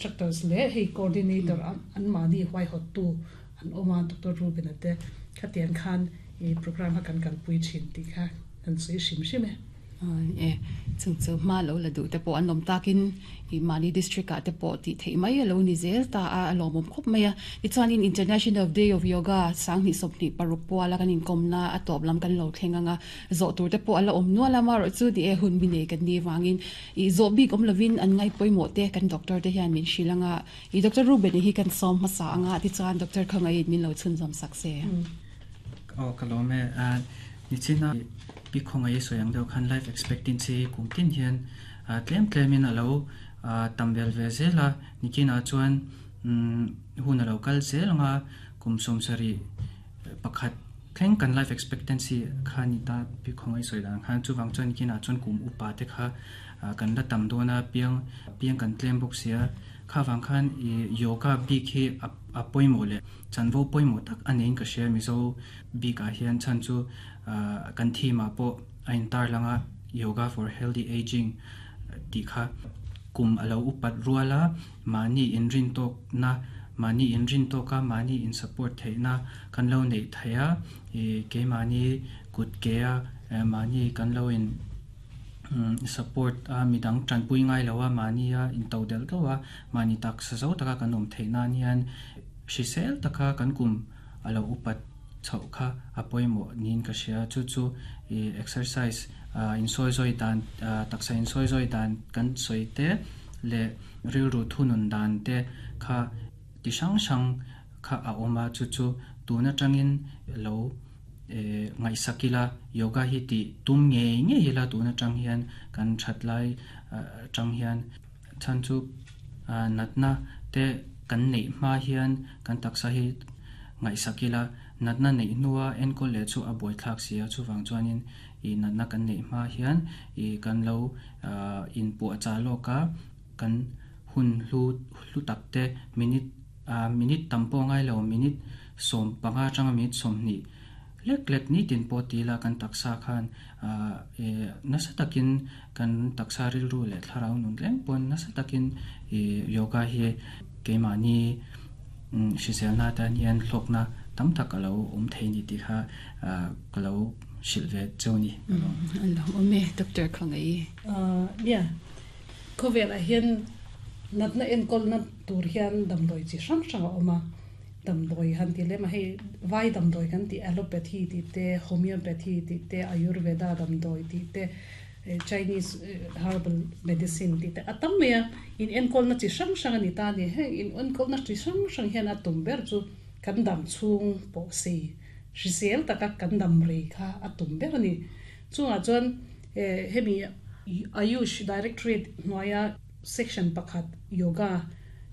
instructors leh hei coordinator an mahni huaihawttu an awm a, Doctor Reuben-a te khatiang khan i programme kha kan kalpui thin tih kha kan sawi hrim hrim e. E, chung chu hma lo la duh te pawh an awm takin i mahni district ah te pawh tih theih mai a lo ni zel ta a, a lawmawm khawp mai a. Tichuanin International Day of Yoga 2026 puala kan inkawmna a tawp lam kan lo thleng ang a, zawh tur te pawh a la awm nual a, amaherawh chu ni e hun bi nei kan nih vangin i zawh bik awm lovin an ngai pawimawh te kan doctor te hian min hrilh ang a, i Doctor Ruben-i hi kan sawm hmasa ang a, tichuan Doctor Khawngaiin min lo chhunzawm sak se. Aw ka lawm e, nichina Pi Khawngaih sawi ang deuh khan life expectancy hi kum tin hian tlem tlemin a lo tam vel ve zel a, nikinah chuan hun a lo kal zel ang a, kum 71 thleng kan life expectancy kha ni ta Pi Khawngaih sawi dan khan chuvang chuan nikinah chuan kum upa te kha kan la tam dawn a, piang piang kan tlem bawk si a, kha vang khan yoga bik hi a pawimawh leh chanvo pawimawh tak a niin ka hria Mizo bikah hian chhan chu Kan theme ah pawh a intar lang a, Yoga for Healthy Ageing tih kha kum a lo upat rual a, mahni inrintawkna, mahni inrintawka mahni in support theihna kan lo neih theih a, ih keimahni kut ke a mahni kan lo in support a, midang tanpui ngai lo a, mahni a into delh deuh a, mahni taksa zo taka kan awm theih nan hian hrisel taka kan kum a lo upat chhoh kha a pawimawh niin ka hria. Chu chu ih exercise ah insawizawi dan ah taksa insawizawi dan kan sawi te leh rilru thunun dan te kha ti hrang hrang kha a awm a, chu chu tun atangin lo eh ngaihsak ila yoga hi tih tum ngei ngei ila tun atang hian kan that lai atang hian chhan chu ah natna te kan neih hma hian kan taksa hi ngaihsak ila, natna neih hnua enkawl leh chu a buaithlak si a, chuvang chuanin ih natna kan neih hma hian ih kan lo inpuahchah lawk a, kan hun hlu hlu tak te minute ah minute tam pawh ngai lo minute 15 atanga minute 20 lek lek nitin pawh ti ila kan taksa khan ah ih nasa takin kan taksa rilru leh thlarau nun reng pawn nasa takin ih yoga hi keimahni Hriselna atan hian hlawkna tam tak a lo awm thei ni tih kha ka lo hrilh ve cheu ni. A lo awm e, Doctor Khawngaih. Nia, khawvelah hian natna enkawlna tur hian damdawi chi hrang hrang a awm a, damdawi han ti lem a, hei vai damdawi kan tih allopathy tih te, homeopathy tih te, ayurveda damdawi tih te, Chinese herbal medicine tih te a tam mai a, in enkawlna chi hrang hrang a ni ta a ni. Heng in enkawlna chi hrang hrang hian a tum ber chu kan dam chhung pawh sei hrisel taka kan dam rei kha a tum ber a ni. Chungah chuan hemi Ayush Directorate hnuaia section pakhat Yoga,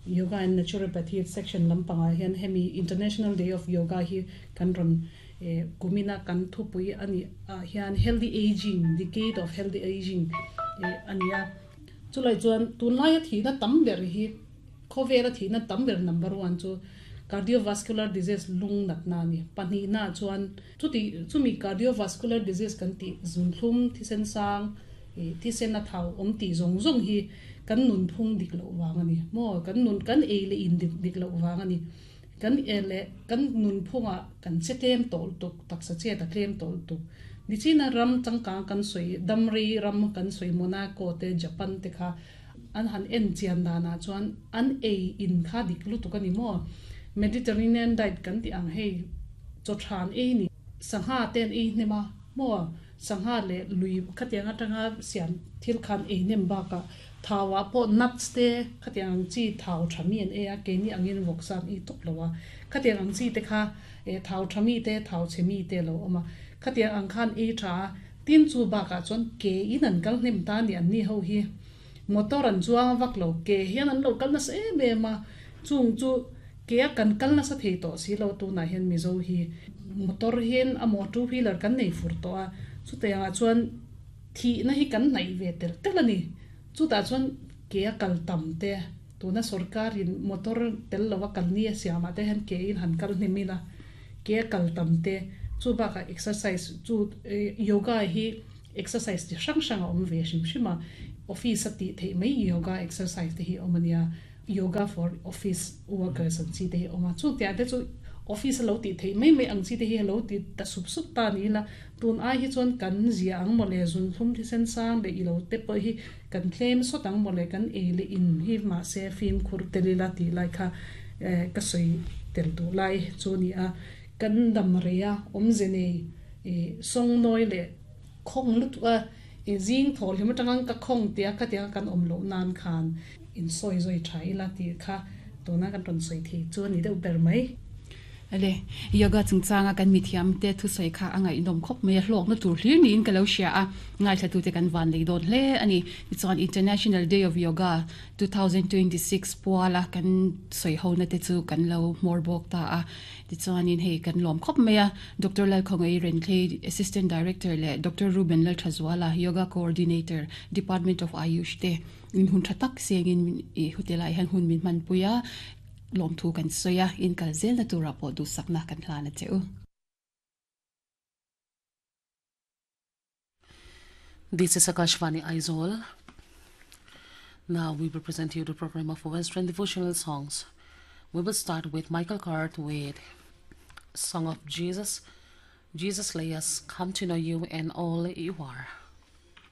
Yoga and Naturopathy section lampangah hian hemi International Day of Yoga hi kan rawn Kumina kan thupui a nih ah hian Healthy Ageing, Decade of Healthy Ageing a ni a. Chulai chuan tunlaia thihna tam ber hi khawvela thihna tam ber number one chu cardiovascular disease lung natna a ni. Pahnihna chuan chuti chumi cardiovascular disease kan tih zunthlum, thisen sang, thisen a thau awm tih zawng zawng hi kan nunphung dik loh vang a ni maw? Kan nun kan ei leh in dik loh vang a ni. Kan e leh kan nunphungah kan che tlem tawh lutuk, taksa chet a tlem tawh lutuk. Nichina ram changkang kan sawi, damrei ram kan sawi Monaco te, Japan te kha an han en chian danah chuan an ei in kha dik lutuk a ni maw? Mediterranean diet kan tih ang hei chaw than ei ni, sangha te an ei hnem a maw? Sangha leh lui khatiang atanga siam thil khan ei hnem bakah Thauah pawh nuts te khatiang ang chi thau tha mi an ei a, keini angin vawksa an ei tawp lo a. Khatiang ang chi te kha eh thau tha mi te, thau chhe mi te a lo awm a. Khatiang ang khan ei tha a, tin chu bakah chuan ke in an kal hnem ta a ni anni ho hi. Motor an chuang vak lo, ke hian an lo kal nasa em em a, chung chu ke a kan kal nasa thei tawh si lo tunah hian Mizo hi motor hian a maw two wheeler kan nei fur tawh a, chutiangah chuan Thihna hi kan hnaih ve tel tel a ni. Chutah chuan ke a kal tam te, tuna sorkarin motor tel lova kal ni a siamah te hian ke in han kal hnem ila, ke a kal tam te, chu bakah exercise chu yoga hi exercise chi hrang hrang a awm ve hrim hrim a, office a tih theih mai yoga exercise te hi a awm a nia. Yoga for office workers ang chi te hi a awm a, chung tiang te chu office a lo tih theih mai mai ang chi te hi a lo ti ta sup sup ta ni ila, tun ai hi chuan kan zia ang mawle zunhlum thisen sang leh ilo te pawh hi kan tlem sawt ang mawle kan ei leh in hi mahse fimkhur tel ila tih lai kha ka sawi tel duh lai chu a ni a, kan dam rei a awmze nei ih sawngnawi leh khawng lutuk a. I zing thaw hlim atanga ka khawng tia khatianga kan awm loh nan khan insawi zawi tha ila tih kha tuna kan rawn sawi thei chu a ni deuh ber mai. Ale, yoga chungchanga kan mithiam te thusawi kha a ngaihnawm khawp mai a, hlawkna tur hlir niin ka lo hria a, ngaithlatute kan van lei dawn hle a ni. Tichuan International Day of Yoga 2026 puala kan sawi hona te chu kan lo hmawr bawk ta a. Tichuanin hei kan lawm khawp mai a, Doctor Lalkhawngei Renthlei, Assistant Director leh Doctor Ruben Lalthazuala, Yoga Coordinator, Department of Ayush te in hun tha tak sengin i hotel-ah hian hun min hmanpui a, lawmthu kan sawi a, in kal zelna turah pawh duhsakna kan hlan a che u. This is Akashvani Aizawl. Now we will present you the program of Western devotional songs. We will start with Michael Card with Song of Jesus. Jesus lay us come to know you and all you are.